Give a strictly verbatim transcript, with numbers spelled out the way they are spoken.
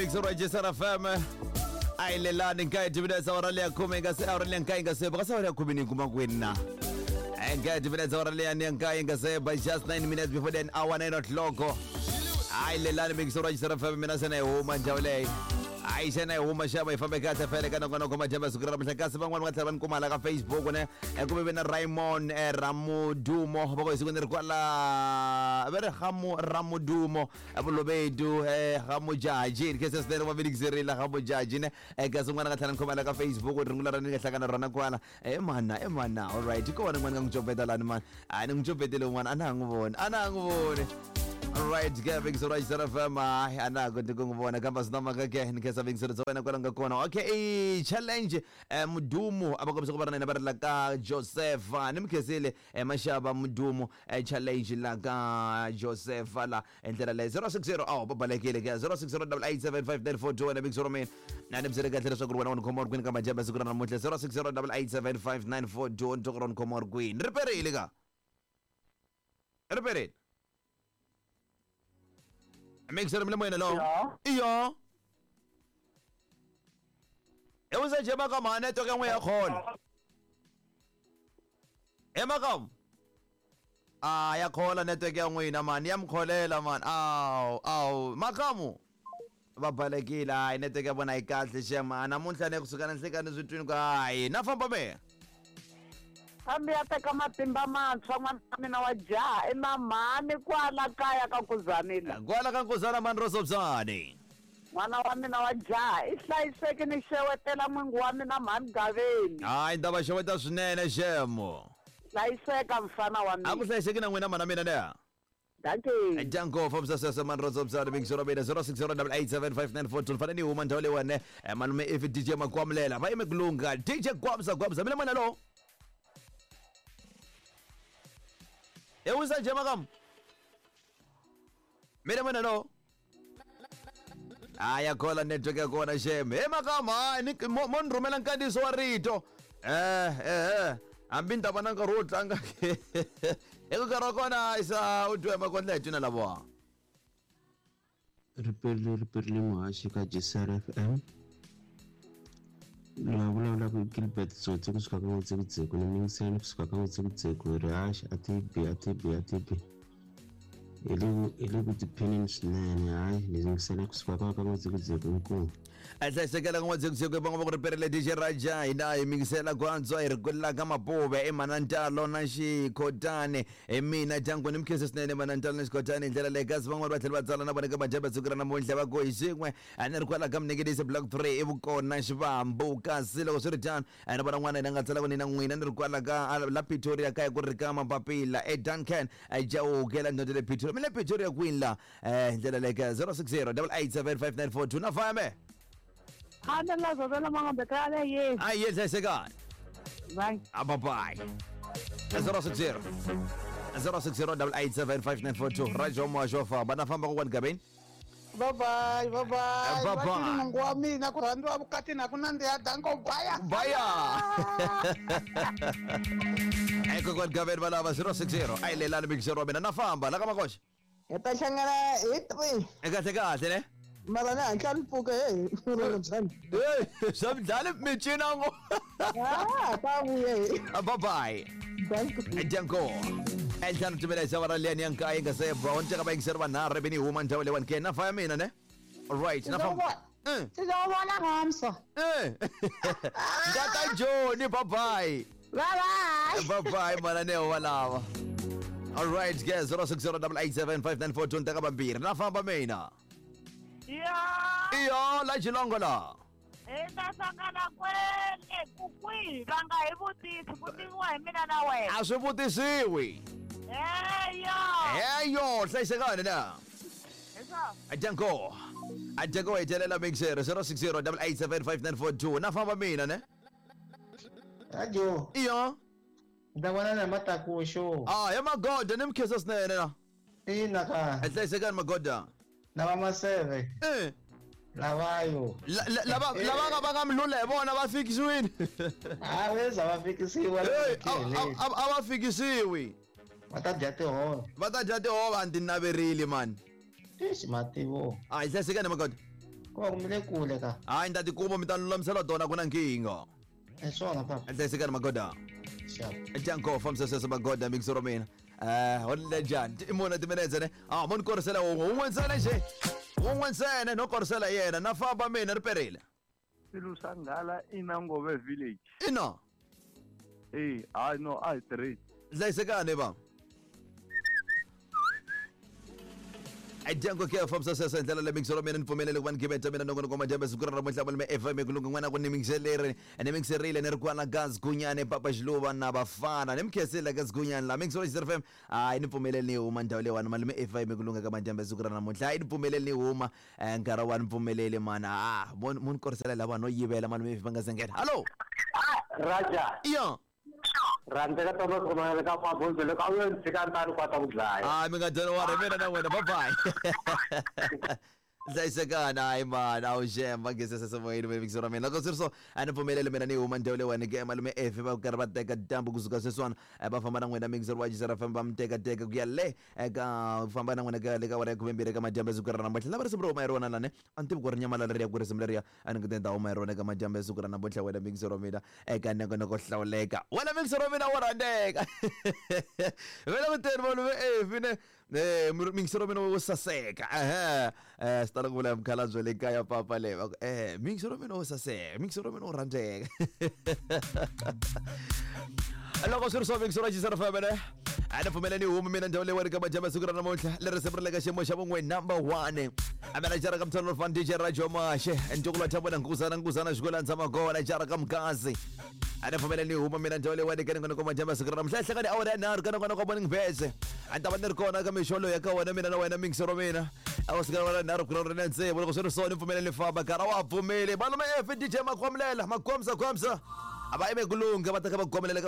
Register F M ayilelani nkayi minutes awara leya khume nga se awara leya nkayi nga se ba ka awara khume ni kuma kwini na nkayi minutes awara leya ni nkayi nga se by just nine minutes before then hour nine o'clock ayilelani mix Register F M mina se na yi huma ndhawu leyi ayi xana yi huma xava yi fambe kahle fele ka nongonoko majembe siku ra namuntlha kasi van'wani va tlhela va ni kuma la ka Facebook ne ku ve na Raymond Ramudumo va ku hi siku ni ri kwala va ri Hamu Ramudumo Vulobedu Hamujaji khe se swinene va velikiserile Hamujaji ne kasi un'wana nga tlhela ni khoma la ka Facebook rungula ra ni nga hlangana rona kwala e mana e mana all right kona n'wana nga n'wi copeta lani mani a ni n'wi copetele un'wana a na ha n'wi voni a na ha n'wi voni. Alright, ke Big Sora F M ana go go ngibona kamba sinama ke ke ni kesa Big Sora tsona kwala nga kona. Okay, challenge Mudumo abakombisa ku va na va ri la ka Joseph ni mkhesile mashaba Mudumo challenge la ka Joseph la endlela le zero six zero aw babalekile ke zero six zero eight eight seven five nine four two na Big Sora mina na ni msele kahle leswaku wena u khoma kwini ka majembe siku ra namuntlha zero six zero eight eight seven five nine four two ntoko ron khoma kwini riperile ka riperile Mixer mle moyena lo. Iyo. Ewuze nje makama network engwe yakhona. Emakam. Ah yakhola network yangwina man yamkholela man. Aw aw makamu. Babalekile hayi network yabona ayikahle shema namuntlha ne kusuka na nhlekani swi twini ka hayi na famba me. Hambi ya teka matimba mantshwa n'wana wa mina wa jaha i na mhani kwala kaya ka Nkuzana. Kwala ka Nkuzana mani ro Sobzani. N'wana wa mina wa jaha i hlayiseki ni xewetela n'wingi wa mina mhani Gaveni. Hayi ni ta va xeweta swinene xemo. Hlayiseka mfana wa mina. A ku hlayiseki na n'wina mhana mina leya. Dankie. Danko from Sasa man Rosa Bzani Big Zero Beta zero six zero eight seven five nine four two fanele ni huma ndhawu leyiwani malume if D J Makwamlela va yime kulunga D J Gwamza Gwamza mina mwana lo. Ewuza nje makam. Mina mina no. Aya khola network yakona shem. Hey makam hayi ni mo ni rhumela nkandziyiso wa rito. Eh eh eh hambi ni ta va na nkarhi wo tlanga ke. Eka nkarhi wa kona isa u twe makondla hi twina lavowa. Riperile riperile muhaxi ka G C R F M. La vulavulaka hi Gilbert Tsotsi kusuka ka N'witsekutseko ni mingiseni kusuka ka N'witsekutseko hi rihaxi a ti bi a ti bi a ti bi hi le hi le ku tiphineni swinene hayi ni yingisela kusuka ka ka N'witsekutseko inkomu. A hlayisekela ka N'witsekutseko va ngo va ku riperile D J Raja hina hi mingisela ku antswa hi ri kwela ka Mapuve i Manantalo na Xikhotani hi mina Jango ni mkhese swinene Manantalo na Xikhotani hi ndlela leyi kasi van'wani va tlhela va tsala na vona ka majembe siku ra namuntlha va ku hi xin'we a ni ri kwala ka Mneketisi Block three i vukona Xivambu kasi loko swi ri tano a ni vona n'wana yena nga tsala ku ni na n'wina ni ri kwala ka la Pretoria kaya ku ri ka Mapapila e Duncan Jawuke la ndhondzo le Pretoria mi le Pretoria kwini la eh hi ndlela leyi ka zero six zero eight seven five nine four two na fame. Handa la zobela mangombe kale ye. Ayi hlayisekani. Bye. Bye bye. zero six zero zero six zero eight seven five nine four two Rajo Mwajo famba na famba kokwani Gabeni. Bye bye bye bye. Bye bye. Mungu wa mina ku rhandziwa vukati na ku nandziha danko baya. Baya. Eko kokwani Gabeni valava zero six zero ayilelani big zero mina na famba la ka makoxa. Hi ta hlangana hi three. Kahle kahle ne. Mara na hatla ni pfuka hey hey swa midlala mincina ngo. Ah ta vuya. Bye bye. Danko. Eltano tumela zawara leni yanka inga se brown teka ba ingisera vanharhu beni huma ndhawu leyi ke na faya mina ne. All right na famba. Eh. Sizobona ngomso. Eh. Ngata Joni bye bye. Bye bye. Bye bye mana ne walava. All right guys zero six zero eight seven five nine four two teka bambiri na famba mina. Yeah. Iyo la Xilongo la. Hi ta hlangana kwele ku kwihi va nga hi vutisi ku tiviwa hi mina na wena. A swi vutisiwi. Heyo. Heyo hlayisekani na. Heswa. Ajanko. Ajanko hetelela mixer zero six zero eight seven five nine four two na famba mina ne. Ajo. Iyo. Nda vona na matakusho. Ah ya magoda ni mkhesa swinene na. Ina ka. Hlayisekani magoda. Lava maseve. Eh. Lavayo. Lava lava va nga mlula hi vona va fikisiwini. Ah weza va fikisiwa. A va fikisiwi. Va ta dya tihove. Va ta dya tihove a ndzi naverile man. Eish mativo. Ah hlayisekani magoda. Ku va kumile kule ka. Hayi ni ta tikuma mi ta lulamisela tona ku na nkingha. Hi swona papa. Hlayisekani magoda. Sharp. Janko famisa sweswo magoda mixoro mina. Eh, hole njhani? I mune timinetse ne? Ah, mo ni korisela wun'we, wun'we ntsena nje. Wun'we ntsena no korisela yena, na famba mina ri perile. Swilu swa nghala i na Ngove village. Ina. Eh, hayi no a hi tirhisi. Hlayisekani va. Janko ke famisa sweswo hi ndlela leyi mixoro mina ni pfumelele ku va ni gibeta mina nongonoko wa madyambu siku ra namuntlha malume F M ku lunga n'wana ku ni mixeleri ni mixerile ni ri kwala ka Zigunyane Papa Xiluva na Bafana ni mi khensile ka Zigunyane la mixoro X F M hayi ni pfumeleli ni huma ndhawu leyiwani malume F M ku lunga ka madyambu siku ra namuntlha hayi ni pfumeleli ni huma eh, nkarhi wa ni pfumeleli mana ah mo mo ni korisela lava no yivela malume F va nga se nghena hallo Raja iya rhandzeka Thomas Khumalo ka mabundzu loko a wu yo ni tshika ni ta ni kota ku dlaya. Ah, mi nga don't worry mina na wena bye bye. Hlayisekani hayi mani a wu xemba ngesesesemoyeni mixo ra mina loko swi ri so a ni pfumeleli mina ni huma ndhawu leyiwani ke malume F va karhi va teka dyambu kusuka sweswiwani eh, va famba na n'wina mixer wa G F M va mi tekateka ku ya le eka famba na n'wina ka le ka awara ya khumembirhi eka madyambu ya siku ra namuntlha lava risimu ro huma hi rona lani a ni tivi ku ri nyamalala ri ya ku risimu leriya a ni ku ta huma hi rona eka madyambu ya siku ra namuntlha wena mixer wa mina eka nongonoko hlawuleka wena mixer wa mina wo rhandzeka vele ku teni malume F ne eh mixer wa mina wo saseka ehe eh swi tala ku vula mukhalabye le kaya papa le va ku eh mixer wa mina wo saseka mixer wa mina wo rhandzeka loko swi ri swo mixer wa G F M ne a ni pfumeleni humi mina ndhawu leyiwani ka madyambu ya siku ra namuntlha leri siku ri le ka xiyimo xa vun'we number one amena jara ka mtholo fan D J Rajo Mashe ntukulu wa Thabo na Nkuzana Nkuzana xikolo tshama kona jara ka Mkazi a ni pfumeleni huma mina ndhawu leyiwani ka nongonoko wa madyambu ya siku ra namuntlha hlangani awara ya nharhu ka nongonoko wa Morning Vibes a ni ta va ni ri kona ka mixo loyi ya ka wena mina na wena mixer wa mina a wu sika wena nharhu ku ri na tsevu loko swi ri so ni pfumeleni famba nkarhi wa pfumeli malume F D J Makhomlela Makhomsa Khomsa a va yime ku lungha va ta kha va khomelela ka